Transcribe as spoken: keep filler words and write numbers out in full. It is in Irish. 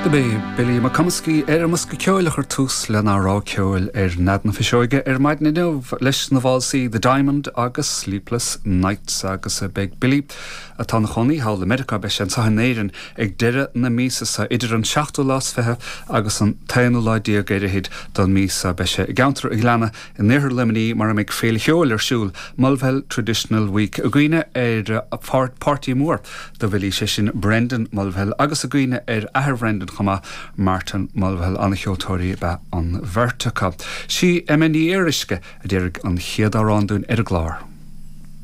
B'é Billy McComiskey ar an mbosca ceoil a chuir tús lenár rogha ceoil ar Nead na Fuiseoige ar maidin inniu leis na válsaí The Diamond agus Sleepless Nights agus beidh Billy atá ina chónaí thall i Meiriceá beidh sé anseo in Éirinn ag deireadh na míosa seo idir an seachtú lá is fiche agus an t-aonú lá déag ar fhichid den mhí seo beidh sé i gceantar an Ghleanna in iarthar Luimnigh mar a mbeidh féile cheoil ar siúl Mulvihill Traditional Week i gcuimhne ar páirtí mór do Bhilly sé sin Brendan Mulvihill agus i gcuimhne ar athair Brendan chomh maith Martin Mulvihill an-cheoltóirí ba ea an bheirt acu. Sí Emma Ní Fhíoruisce a d'éirigh an chéad amhrán dúinn ar an gclár.